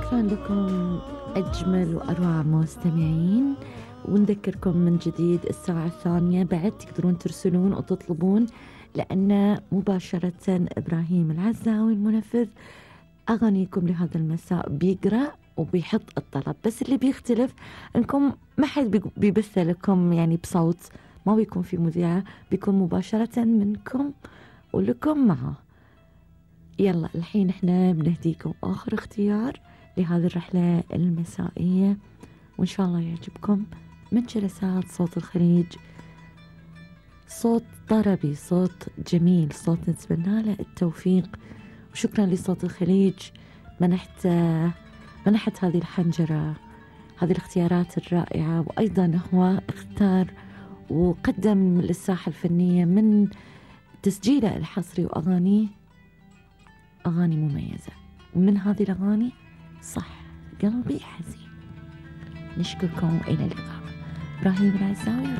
شكرا لكم أجمل وأروع مستمعين، ونذكركم من جديد الساعة الثانية بعد تقدرون ترسلون وتطلبون، لأن مباشرة إبراهيم العزاوي المنفذ أغانيكم لهذا المساء بيقرأ وبيحط الطلب، بس اللي بيختلف أنكم ما حد بيبث لكم يعني بصوت، ما بيكون في مذيعة، بيكون مباشرة منكم ولكم معه. يلا الحين احنا بنهديكم آخر اختيار لهذه الرحلة المسائية، وإن شاء الله يعجبكم من جلسات صوت الخليج. صوت طربي، صوت جميل، صوت نتمنى له التوفيق، وشكرا لصوت الخليج منحت هذه الحنجرة، هذه الاختيارات الرائعة، وأيضا هو اختار وقدم للساحة الفنية من تسجيله الحصري وأغانيه أغاني مميزة، ومن هذه الأغاني صح قلبي حزين. نشكركم وإلى اللقاء. إبراهيم العزاوي.